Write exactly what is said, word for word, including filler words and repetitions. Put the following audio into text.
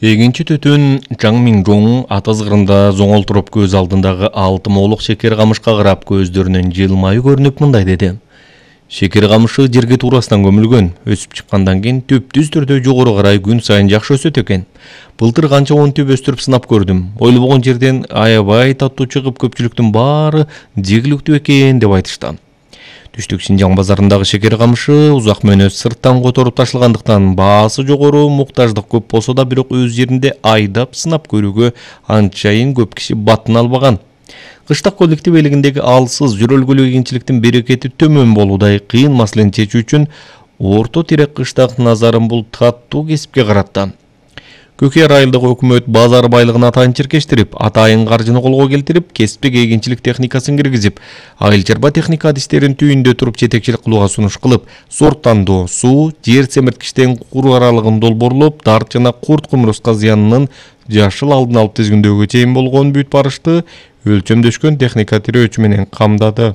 Эгинчи түтүн Чаң Минжоң ата ызгырында зоңолтуруп көз алдындагы алты моолук шекер камышка карап көздөрүнөн жылмайуу көрүнүп мындай деди. Шекер камышы жерге туурасынан көмүлгөн, өсүп чыккандан кийин түптүз түрдө жогору карай күн сайын жакшы өсөт экен. Былтыр канча он түп өстүрүп сынап көрдүм. Ойлобогон жерден аябай таттуу чыгып көпчүлүктүн баары жегиликтүү экен деп айтышты. Түштүк Шинжаң базарындагы шекер камышы узак мөөнөт сырттан которуп ташылгандыктан баасы жогору, муктаждык көп болсо да бирок өз жеринде айдап сынап көрүүгө анчайын көп киши батын албаган. Кыштак коллектив элигиндеги алсыз жүрөлгүлүү кийинчиликтин берекети төмөн болуудай кыйын маселени чечүү үчүн орто тирек кыштак назарын бул таттуу кесипке каратты. Көкөй айылдык өкмөт базар байлыгын атайын чиркештирип, атайын каржыны колго келтирип, кесиптик эгинчилик техникасын киргизип, айыл чарба техника адистерин түйүндө туруп жетекчилик кылууга сунуш кылып, сорттандоо, суу, жер семирткичтен кур аралыгын долбоорлоп, дарт жана курт кумурска зыянынын жашыл алдын алып тизгиндөөгө чейин болгон бүт барышты өлчөмдөшкөн техника тирөөчү менен камдады.